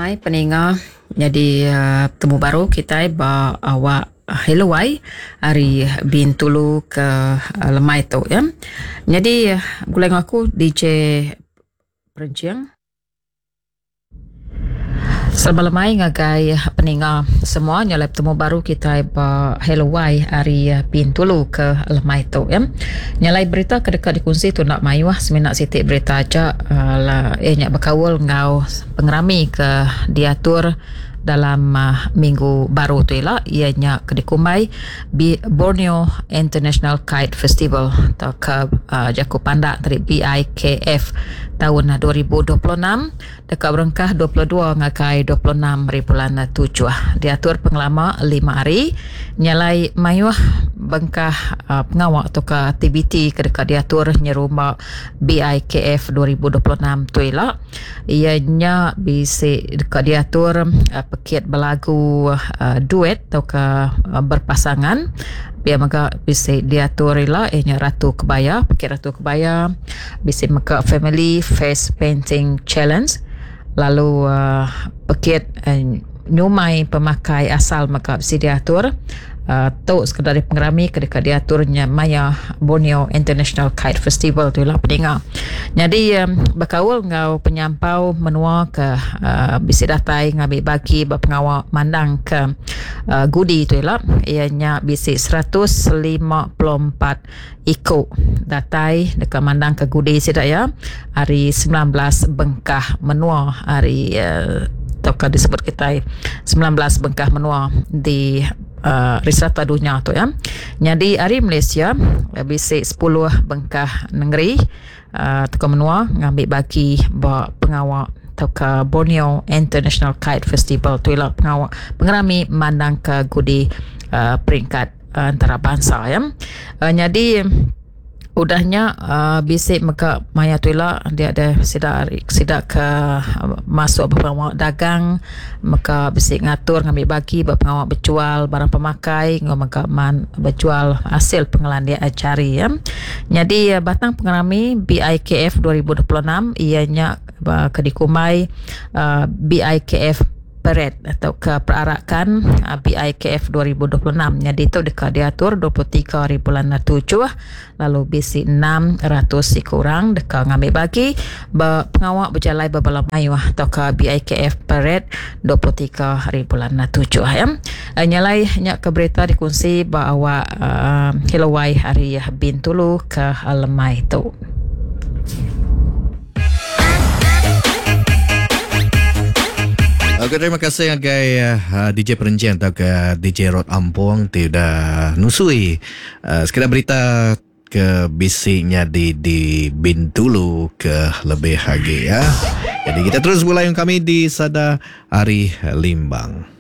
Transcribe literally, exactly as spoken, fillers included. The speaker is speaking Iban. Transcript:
lemai peninga jadi uh, temu baru kita ba awak Hello Wai hari Bintulu ke uh, lemai tu ya. Jadi gulai aku D J Perencing. Selamat lemai ngagai peninga semua nyalai temu baru kita ba Hello Wai hari Bintulu ke lemai tu ya. Nyalai berita ke dekat dikongsi tu nak mayuh semina siti berita aja uh, lah eh nyak berkaul ngau pengerami ke diatur dalam uh, minggu baru tu ialah ianya kedikumbai Borneo International Kite Festival atau ke uh, jaku pandak dari B I K F tahun dua ribu dua puluh enam dekat berengkah dua puluh dua ngagai dua puluh enam hari bulan tujuh diatur pengelama lima hari nyalai mayuh bengkah uh, pengawak atau ke aktiviti ke dekat diatur nyerumba B I K F dua ribu dua puluh enam tu ialah ianya bisa dekat diatur uh, pekit belagu uh, duet atau ke uh, berpasangan biar maka bisa diatur ialah ianya Ratu Kebaya, pekit Ratu Kebaya, bisa maka Family Face Painting Challenge, lalu uh, pekit uh, nyumai pemakai asal maka bisa diatur uh, tu sekadar pengerami kedekat diaturnya Maya Borneo International Kite Festival tu lah peninga. Jadi um, berkaul ngau penyampau menua ke uh, bisi datai ngambil bagi berpengawak mandang ke uh, gudi tu lah ianya bisi seratus lima puluh empat ikut datai dekat mandang ke gudi sidak ya hari sembilan belas bengkah menua hari uh, atau disebut kita sembilan belas bengkah menua di uh, serata dunia tu ya. Jadi hari Malaysia bisi sepuluh bengkah negeri uh, teka menua ngambil bagi ba pengawak atau ke Borneo International Kite Festival tu ialah pengawak pengerami mandang ke gudi uh, peringkat uh, antarabangsa ya. Uh, jadi udahnya uh, bisik meka maya tu lah dia ada sidak sidak ke uh, masuk berpengawak dagang meka bisik ngatur ngambil bagi berpengawak berjual barang pemakai ngau meka man berjual hasil pengelandia cari ya. Jadi uh, batang pengerami B I K F dua ribu dua puluh enam ianya uh, kedikumai uh, B I K F Parade atau ke perarakan B I K F dua ribu dua puluh enam. Jadi itu dekat diatur dua puluh tiga hari bulan tujuh lalu B C enam ratus kurang dekat ngambil bagi pengawak berjalan berbala mayuh atau ke B I K F Parade dua puluh tiga hari bulan tujuh ya. Nyalai nyak ke berita dikongsi bahawa uh, Hello Wai hari Bintulu ke Lemai tu. Okey, terima kasih agai uh, D J Perencing atau ke D J Rod Ampong ti dah nusui uh, sekedar berita ke bisiknya di di Bintulu ke lebih lagi ya. Jadi kita terus mulai kami di Sada Hari Limbang.